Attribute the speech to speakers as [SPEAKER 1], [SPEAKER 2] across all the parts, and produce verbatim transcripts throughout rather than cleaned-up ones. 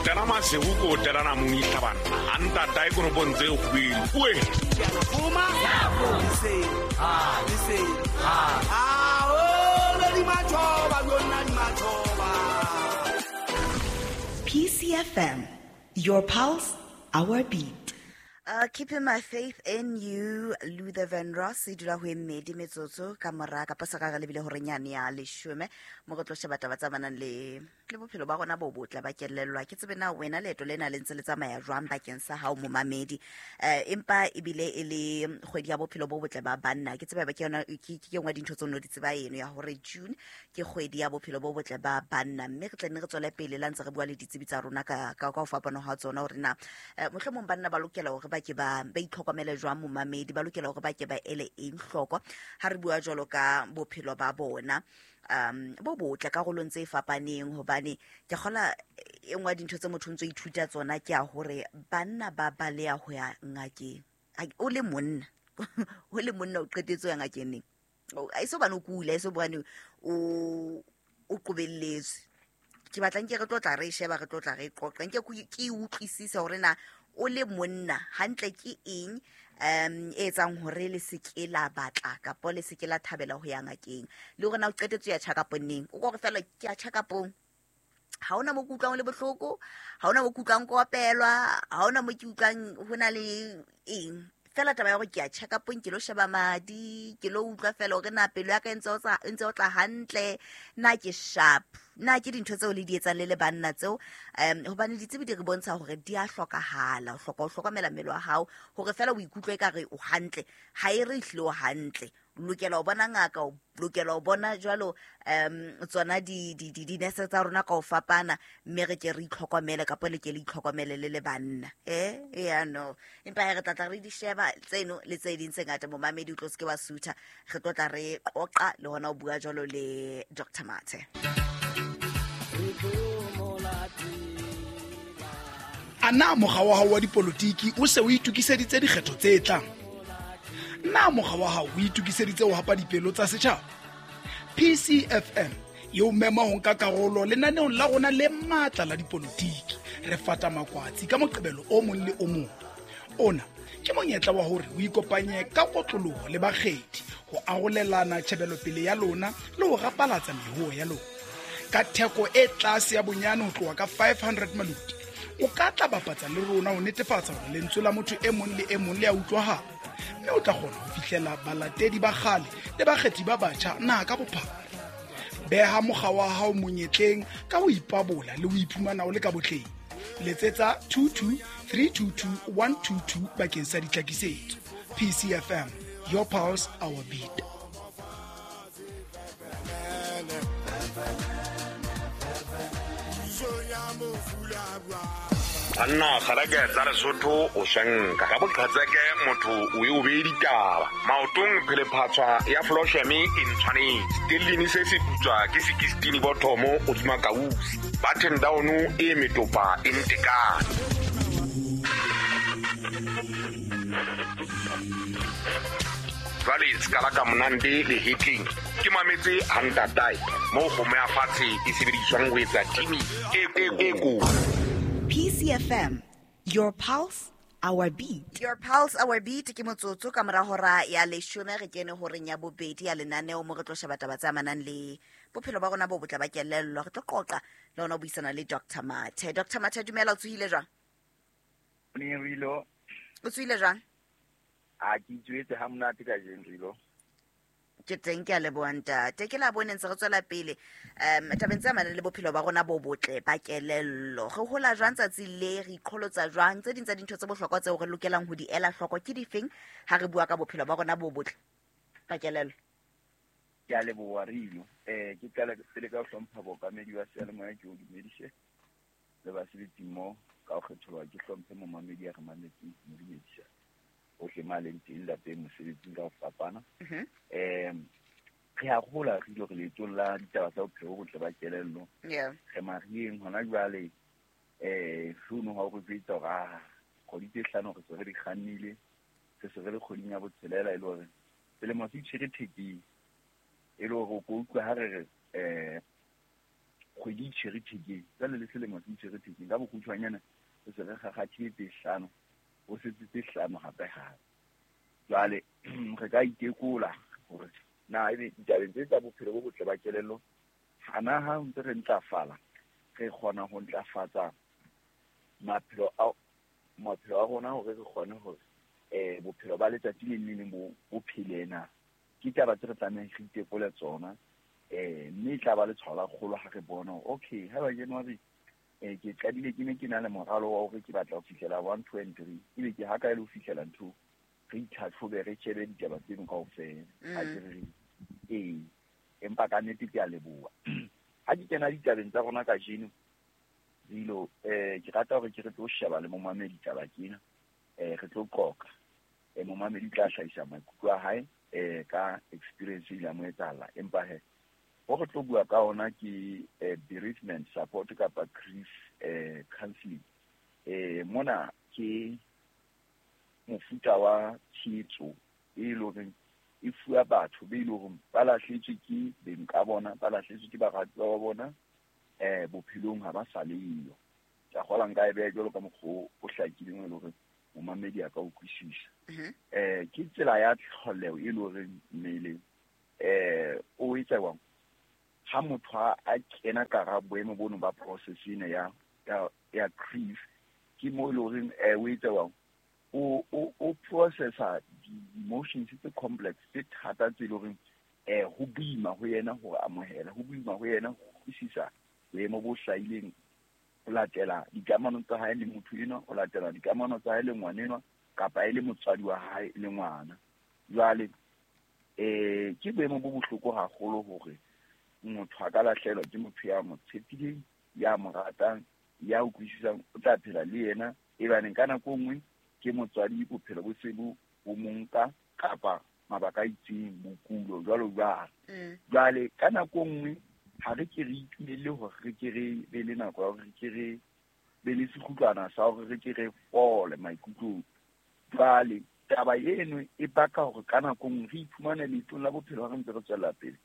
[SPEAKER 1] tela masego ko tela namong itlhabana a ntatae konopong tse kgwedi oe.
[SPEAKER 2] P C F M, your pulse, our beat.
[SPEAKER 3] Uh, keeping my faith in you, Luther Vandross, e dula ho e mmedi metsotso ka mora kapa sa ka re lebile hore nyane ya leshome mo re tlo sheba taba tsa manang le le bophelo ba rona bo botle ba kelellwa. Ke tsebe na wena leeto lena le ntse le tsamaya jwang bakeng sa hao momamedi, eh empa ebile e le kgwedi ya bophelo bo botle ba banna. Ke tsebe ba ke yona ke ke nngwe dintho tse no di tseba eno ya hore June ke kgwedi ya bophelo bo botle ba banna, mme re tla nne re tswele pele la ntse re bua le ditsebi tsa rona ka ka ho fapana ha tsona hore na mohlomong banna ba lokela hore ba ke ba ba itlhokomele jwang momamedi, ba lokela hore ba ke ba ele eng hloko ha re bua jwalo ka bophelo ba bona um bo botle karolong tse fapaneng. Hobane ke kgola e nngwe ya dintho tse motho o ntso ithuta tsona ke ya hore banna ba baleha ho ya ngakeng. O le monna o le monna o qetetse ho ya ngakeng neng? A e so bane o kula, e so bane o o qobelletswe. Ke batla nke re tlo tla re sheba, re tlo tla re qoqa, nke ke utlwisise hore na o le monna hantle ke eng um e etsang hore le se ke la batla kapa le se ke la thabela ho ya ngakeng, le hore na o qetetse ya check-up neng. O kore fela ke ya check-upong, ha hona mo ke utlwang le bohloko, ha hona mo ke utlwang kopelwa, ha hona mo ke utlwang ho na le eng. Fela taba ya hore ke ya check-upong, ke lo sheba madi, ke lo utlwa fela hore na pelo ya ka e ntse e ntse o tla hantle, na ke sharp, na ke dintho tseo le di etsang le le banna tseo. Um hobane ditsebi di re bontsha hore di a hlokahala, o hloka ho hlokomela mmele wa hao hore fela o ikutlwe ekare o hantle, ha e re ehlile o hantle. O lokela ho bona ngaka, o lokela ho bona jwalo um tsona di di di dinese tsa rona ka ho fapana, mme re ke re itlhokomele kapa le ke le itlhokomele le le banna. Eh ya no, empa ha re tla tla re di sheba tseno le tse ding tse ngata momamedi, o tlo se ke wa sutha, re tlo tla re qoqa le hona ho bua jwalo le Doctor Mathe.
[SPEAKER 4] A na mokga wa hao wa dipolotiki o se o itokiseditse dikgetho tse tlang? Na mokga wa hao o itokiseditse ho hapa dipelo tsa setjhaba? P C F M e o mema ho nka karolo lenaneong la rona le matla la dipolotiki. Re fata makwatsi ka Moqebelo o mong le o mong. Ona ke monyetla wa hore o ikopanye ka kotloloho le bakgethi ho arolelana tjhebelopele ya lona le ho rapalatsa mehoo ya lona. Ka theko e tlase ya bonyane ho tloha ka five hundred maluti, o ka tla bapatsa le rona ho netefatsa hore lentswe la motho e mong le e mong le a utlwahala, mme o tla kgona ho fihlela balatedi ba kgale le bakgethi ba batjha naha ka bophara. Beha mokga wa hao monyetleng ka ho ipabola le ho iphumana o le ka botleng. Letsetsa two two three two two one two two bakeng sa ditlhakisetso. P C F M, your pulse, our beat.
[SPEAKER 1] Banna kgalake tsa Lesotho o shanka ka boqhatseke motho o e o bee ditaba maotong phelephatswa ya flosheme e ntshwanetse tellini se se putswa ke sixteen bothomo hodima kausi button down e metopa e ntekane. Jwale skala ka monande le hitling ke mametse hantatae mo kgomo ya fatshe e sebediswang ho etsa timi e e ko.
[SPEAKER 2] P C F M, your pulse, our beat.
[SPEAKER 3] Your pulse, our beat ke motsotso ka mora hora ya leshome re kene horeng ya bobedi ya lenaneo mo re tlo sheba taba tse amanang le bophelo ba rona bo botle ba kelello. Re tlo qoqa le hona ho buisana le Doctor Mathe. Doctor Mathe, dumela, o tsohile jwang?
[SPEAKER 5] Rilo.
[SPEAKER 3] O tsohile jwang?
[SPEAKER 5] A ke itjwetse ha monate kajeno Rilo.
[SPEAKER 3] Ke teng, ke a leboha ntate. Ke la bone ntse re tswela pele um tabeng tse amanang le bophelo ba rona bo botle ba kelello. Re hola jwang tsatsi le, re iqholotsa jwang? Tse ding tsa dintho tse bohlokwa tseo re lokelang ho di ela hloko ke difeng ha re bua ka bophelo ba rona bo botle ba kelello?
[SPEAKER 5] Ke a leboha Rilo. Eh ke qala pele ka ho hlompha bookamedi wa seyalemoya, ke o dumedise le basebetsi mmoho ka ho kgetholwa, ke hlomphe momamedi ya re mametseng, ke mo dumedisa ohle ma leng teng lapeng mosebetsing ka ho fapana. Um re a hola re ile re leetong la ditaba tsa bophelo bo botle ba kelello. Re mariheng hona jwale, um founu ha o re jwetsa hore ah kgwedi tse hlano re se re di kgannile, re se re le kgweding ya botshelela, e le hore selemo se itshwere thekeng, e le hore o ko utlwa ha re re um kgwedi e tshwere thekeng, jwale le selemo se tshwere thekeng. Ka bokgutshwanyane re se re kgakgathile tse hlano, ho setse tse hlano hape hape. Jwale re ka itekola hore na ebe ditabeng tse tsa bophelo bo botle ba kelello, hana ha ntse re ntlafala, re kgona ho ntlafatsa maphelo a maphelo a rona hore re kgone hore eh bophelo ba letsatsi le leng le leng bo bo phele na. Ke taba tse re tlamehang re itekole tsona, eh mme e tla ba letshwao la kgolo ha re bona hore okay, ha ba January eh ke qadile ke ne ke na le moralo wa hore ke batla ho fihlela one, two and three, ebe ke ha kae le ho fihlela ntho, re itlhatlhobe, re shebe ditaba tseno kaofela. Ha ke re ee, empa ka nnete ke a leboha. Ha ke kena ditabeng tsa rona kajeno, Dilo, eh ke rata hore ke re tlo sheba le momamedi taba kena, eh re tlo qoqa. Eh momamedi tla hlahisa maikutlo a hae eh ka experience e ile mo etsahala. Empa he ho re tlo bua ka ona ke eh, bereavement support kapa grief eh counseling. Eh mona ke mofuta wa tshehetso e leng hore e fuwa batho be leng hore ba lahletswe ke beng ka bona, ba lahletswe ke baratuwa ba bona, eh bophelong ha ba sa leyo. Ke a kgolwa nka e beha jwalo ka mokgwa o hlakileng e leng hore momamedi a ka utlwisisa. Eh ke tsela ya tlholeho e leng hore mmele eh o etsa jwang ha motho a kena ka hara boemo bono ba process ena ya ya ya grief, ke mo e leng hore eh o etsa jwang o o o processa di-emotions tse complex tse thata tse leng hore eh ho boima ho yena hore amohela, ho boima ho yena ho utlwisisa boemo bo hlahileng ho latela dikamano tsa hae le motho enwa, ho latela dikamano tsa hae le ngwanenwa kapa e le motswadi wa hae le ngwana. Jwale eh ke boemo bo bohloko haholo hore motho a ka lahlehelwa ke motho ya mo tshepileng, ya mo ratang, ya utlwisisang, o tla phela le yena, ebaneng ka nako e nngwe ke motswadi bophelo bo se bo bo mo nka kapa mabaka a itseng, bokulo jwalo jwalo. Jwale ka nako e nngwe ha re ke re itumelle hore re ke re be le nako ya hore re ke re be le sekgutlwana sa hore re ke re fole maikutlong. Jwale taba eno e baka hore ka nako e nngwe re iphumane leetong la bophelo ha re ntse re tswella pele.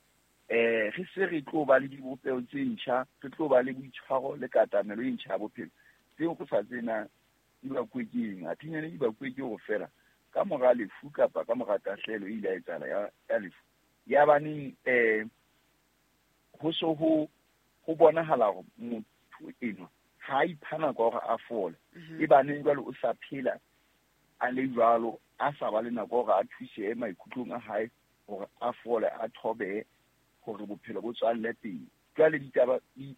[SPEAKER 5] Eh re se re tlo ba le dibopeho tse ntjha, re tlo ba le boitshwaro le katamelo e ntjha ya bophelo. Tseo re sa tsena di bakuwe ke eng? Athinyane di bakuwe ke hore feela ka mora lefu kapa ka mora tahlehelo e ile ya etsahala ya, ya lefu. Ya baneng eh ho so ho ho bonahala hore motho enwa ha a ipha nako ya hore a fole. E baneng jwale o sa phela a le jwalo, a sa ba le nako ya hore a thusehe maikutlong a hae hore a fole, a thobehe hore bophelo bo tswalle pele. Jwale ditaba di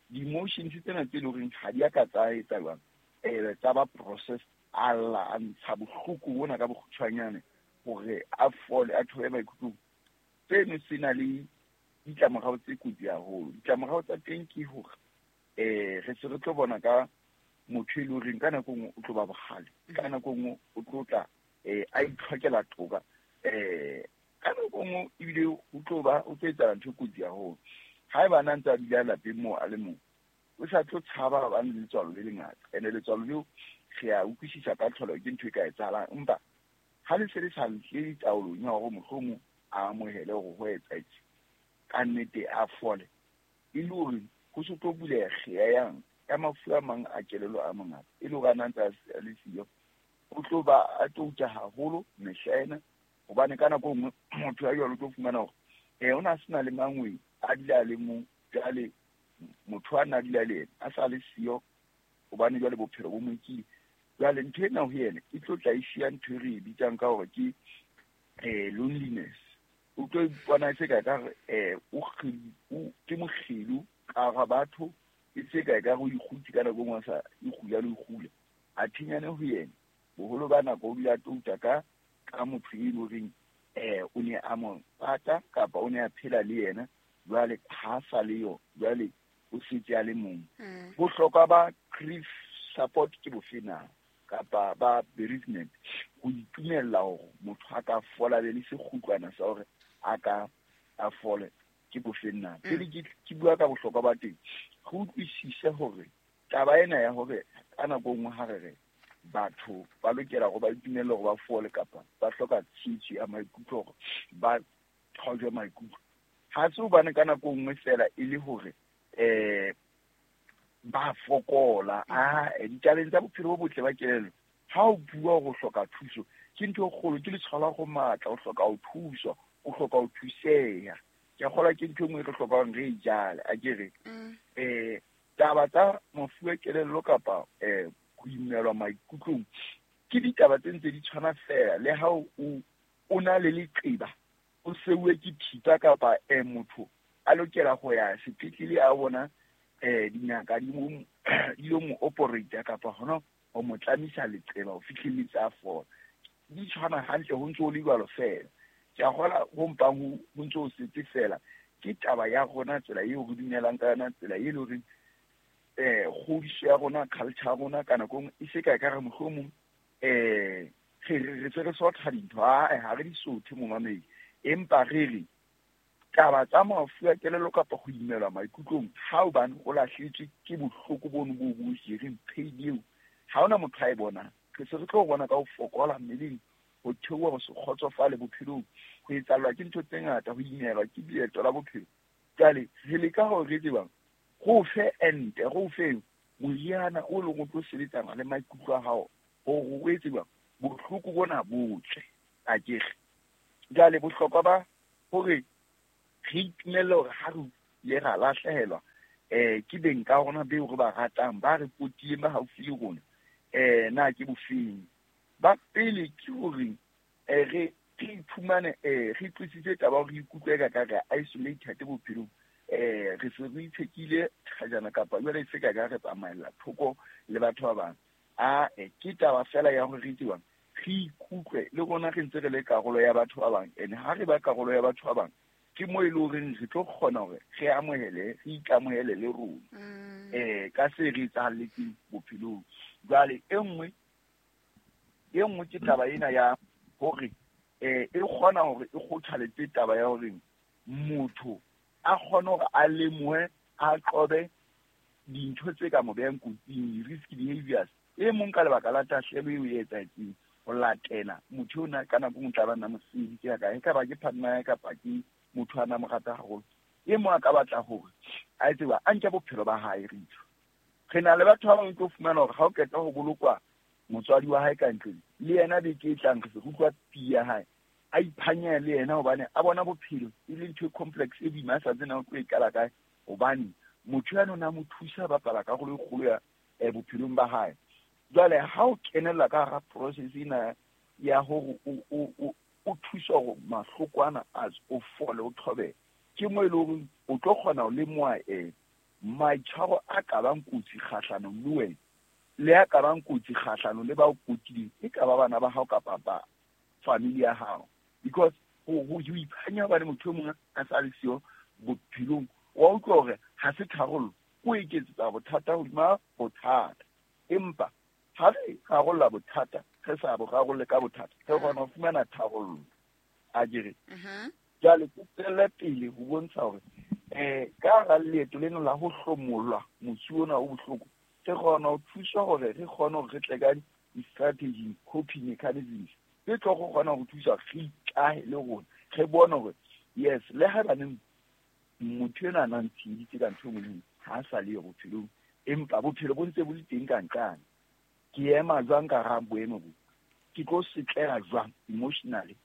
[SPEAKER 5] di-emotions tsena tse leng hore ha di a ka tsa etsa jwang, eh tsa ba process, a lla a ntsha bohloko bona ka bokgutshwanyane hore a fole, a thobe maikutlong. Seno se na le ditlamorao tse kotsi haholo. Ditlamorao tsa teng ke hore eh re se re tlo bona ka motho e leng horeng ka nako e nngwe o tlo ba bohale, ka nako e nngwe o tlo tla eh a itlhokela toka, eh ka nako e nngwe ebile o tlo ba o tlo etsahala ntho e kotsi haholo. Haeba a ntse a dula lapeng moo a le mong, o sa tlo tshaba hobane letswalo le lengata, ene letswalo leo re a utlwisisa ka tlholeho ke ntho e ka etsahalang, empa ha le se le sa ntle taolong ya hore mohlomong a amohele hore ho etsahetse ka nnete a fole, e le hore ho se tlo buleha kgeya yang ya mafu a mang a kelello a mangata, e le hore a na ntse a le siyo, o tlo ba a touta haholo mehla ena, hobane ka nako e nngwe motho ya jwalo o tlo fumana hore eh o na sena le mangwe a dula a le mong, jwale motho a na dula le yena a sa le siyo hobane jwale bophelo bo mo nkile. Jwale ntho ena ho yena e tlo tla e siya ntho e re e bitsang ka hore ke eh loneliness. O tlo ipona e se ka ekare eh o o ke mokgelo ka hara batho, e se ka ekare o ikgutse ka nako e nngwe a sa ikgula le ho ikgula. A thinyane ho yena boholo ba nako o dula a touta ka ka motho e leng horeng eh o ne a mo rata kapa o ne a phela le yena, jwale ha sa le yo, jwale o setse a le mong. Bohlokwa ba grief support ke bofe na kapa ba bereavement? Ho itumella hore motho a ka fola be le sekgutlwana sa hore a ka a fole ke bofe na? Pele ke ke bua ka bohlokwa ba teng, re utlwisise hore taba ena ya hore ka nako e nngwe ha re re batho ba lokela hore ba itumelle hore ba fole kapa ba hloka tshehetso ya maikutlo hore ba thojwe maikutlo, ha se hobane ka nako e nngwe feela e le hore um ba fokola. A ditabeng tsa bophelo bo botle ba kelello, ha o bua hore o hloka thuso, ke ntho e kgolo, ke letshwao la go matla, o hloka ho thuswa, o hloka ho thuseha. Ke a kgolwa ke ntho e nngwe e re hlokang re e jale, akere. Um taba tsa mafu a kelello kapa um ho imelwa maikutlong ke ditaba tse ntse di tshwana fela le ha o o na le leqeba, o seuwe ke thipa kapa um motho a lokela ho ya sepetlele a bona um dingaka di mo di lo mo operate kapa hona ho mo tlamisa leqeba ho fihlelletse a fola. Di tshwana hantle, ho ntso ho le jwalo fela. Ke a kgolwa ho mpang ho ntso ho setse fela ke taba ya rona, tsela eo re dumelang ka yona, tsela e leng hore um kgodiso ya rona, culture ya rona ka nako e nngwe e se ka ekare mohlomong um re re se re sotha dintho. Ae, ha re di sothe momamedi, empa re re taba tsa mafu a kelello kapa ho imelwa maikutlong ha hobane o lahletswe ke bohloko bono bo bo jereng pain eo, ha hona motho a e bonang. Re se re tlo bona ka ho fokola mmeleng, ho theoha, ho se kgotsofale bophelong, ho etsahallwa ke ntho tse ngata, ho imelwa ke leeto la bophelo. Jwale re leka hore re tsebang go fe ente, go fe moriana o leng o tlo sebetsana le maikutlo a hao hore o etse jwang bohloko bona bo tswe, akere. Jwale bohlokwa ba hore re itumelle hore ha re ile ra lahlehelwa um ke beng ka rona beo re ba ratang, ba re potileng, ba haufi le rona, um na ke bofeng. Ba pele ke hore um re re iphumane um re tlositse taba hore re ikutlwe ka ka re isolated bophelong, um re se re itshekile thajana kapa jwale e se ka ka re tsamaella thoko le batho ba bang. A ke taba fela ya hore re itse jwang re ikutlwe le rona re ntse re le karolo ya batho ba bang, and ha re ba karolo ya batho ba bang ke mo e leng horeng re tlo kgona hore re amohele, re ikamohele le rona um ka se re etsahalletseng bophelong. Jwale e nngwe e nngwe ke taba ena ya hore um e kgona hore e kgothaletse taba ya hore motho a kgone hore a lemohe, a qobe dintho tse ka mo behang kotsing, risk behaviors. E mong ka lebaka la tahlehelo eo e etsahetseng ho latela motho ona ka nako e nngwe tla ba nna mosebetsi ya kae, e ka ba ke partner ya kapa ke motho a na mo rata haholo. E mong a ka batla hore a etse ba a nke bophelo ba hae. Re re na le batho ba bang tlo fumana hore ha o qeta ho bolokwa motswadi wa hae ka ntlong, le yena beke e tlang re se utlwa pii ya hae a iphanya le yena, hobane a bona bophelo e le ntho e complex e boima, a sa tsebe na o tlo e qala kae, hobane motho ya nona mo thusa bapala karolo e kgolo ya um bophelong ba hae. Jwale ha o kenella ka hara process ena ya hore o o o thusa hore mahloko ana a o fole, o thobe, ke mo e leng hore o tlo kgona ho lemoha um maitshwaro a ka bang kotsi kgahlanong le wena, le a ka bang kotsi kgahlanong le ba o potileng, e ka ba bana ba hao kapa ba family ya hao. Because ho ho iphanya hobane motho e mong a sa le siyo bophelong, wa utlwa hore ha se tharollo, o eketsetsa bothata hodima bothata. Empa ha re rarolla bothata, re sa bo rarolle ka bothata, re kgona ho fumana tharollo, akere. Jwale ke tswelle pele ho bontsha hore um ka hara leeto lena la ho hlomollwa motsu ona o bohloko, re kgona ho thuswa hore re kgone hore re tle ka di-strategy, coping mechanisms tse tlo go kgona ho thusa re ikahe le rona, re bone hore yes, le haebaneng motho enwa a nang tsheheditse ka ntho e nngwe le nngwe, ha a sa le yo bophelong, empa bophelo bo ntse bo le teng ka nqane. Ke ema jwang ka hara boemo bo? Ke tlo setleha jwang emotionally?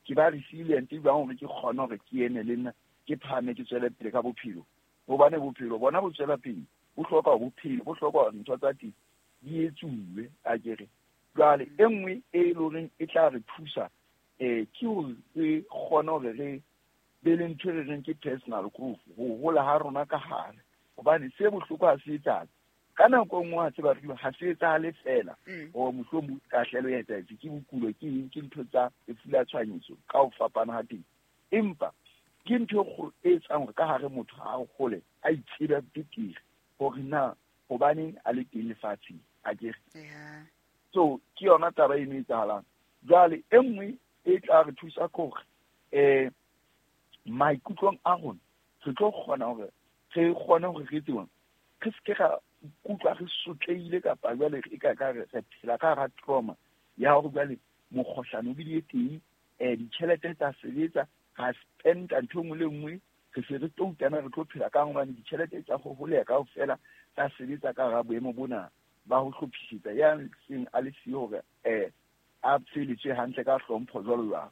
[SPEAKER 5] Ke ba resilient jwang hore ke kgone hore ke eme le nna, ke phahame, ke tswele pele ka bophelo? Hobane bophelo bona bo tswela pele, bo hloka bophelo, bo hloka ntho tsa teng di etsuwe, akere. Jwale e nngwe e leng horeng e tla re thusa um ke hore re kgone hore re be le ntho e re reng ke personal growth, ho hola ha rona ka hare. Hobane se bohloko ha se etsahale ka nako e nngwe, ha tseba re ha se etsahale fela hore mohlomong tahlehelo e etsahetse ke bokulo, ke eng, ke ntho tsa lefu la tshohanyetso ka ho fapana ha teng, empa ke ntho e kgolo e etsang hore ka hare motho a hole, a itsebe betere hore na hobaneng a le teng lefatsheng, akere. So ke yona taba eno e etsahalang. Jwale e nngwe e tla re thusa ke hore um maikutlong a rona re tlo kgona hore re kgone hore re tsebang re se ke ra ikutlwa re sotlehile kapa jwale e ka ka re phela ka hara trauma ya hore jwale mokgohlane o bile teng, um ditjhelete tsa sebetsa, ra spenda ntho e nngwe le nngwe Re se re tloutana re tlo phela ka hobane ditjhelete tsa go holeha kaofela tsa sebetsa ka hara boemo bona ba ho hlophisetsa ya seng a le siyo hore um a feletswe hantle ka hlompho jwalo jwalo.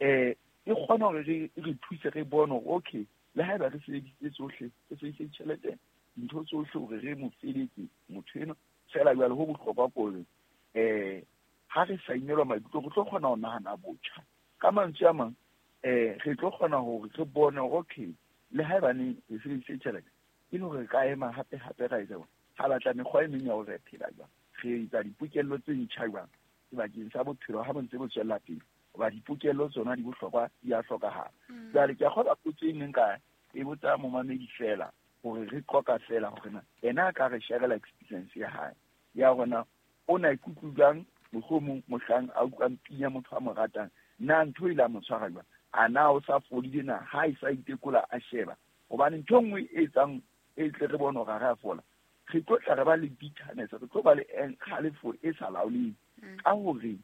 [SPEAKER 5] Um e kgona hore re re thuse re bone hore okay le haeba re sebedisitse tsohle re sebedisitse ditjhelete dintho tsohle hore re mo feletse motho enwa fela jwale ho bohlokwa ke hore um ha re sa imelwa maikutlo re tlo kgona ho nahana botjha. Ka mantswe a mang eh re tlo kgona hore re bone hore okay le haebane re sebedisitse tjhelete e le hore re ka ema hape hape ra etsa ha batla mekgwa e meng ya hore re phela jwang re etsa dipokello tse ntjha jwang sebakeng sa bophelo ha bo ntse bo tswella pele hoba dipokello tsona di bohlokwa di a hlokahala. Jwale ke a kgolwa potso e neng ka e botsa momamedi fela hore re qoqa fela hore na ena a ka re sharela experience ya hae ya hore na o na ikutlwa jwang mohlomong mohlang a utlwang pina motho a mo ratang na ntho e ile a mo tshwara jwang a na o sa fodile na ha e sa itekola a sheba hobane ntho e nngwe e etsang e tle re bone hore ha re a fola re tlo tla re ba le bitterness re tlo ba le kgalefo e sa laoleng ka hore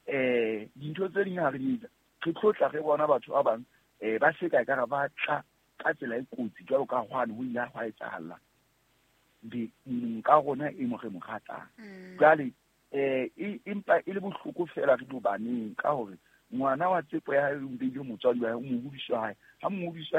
[SPEAKER 5] eh dintho tse ding ha re di etsa re tlo tla re bona batho ba bang eh ba se ka ekare ba tla ka tsela e kotsi jwalo ka hwane ho ile hwa etsahalla be ka rona e mo re mo ratang. Jwale eh empa e le bohloko fela re do baneng ka hore ngwana wa tsepo ya hae o beile motswadi wa hae o mohodiso wa hae ha mohodiso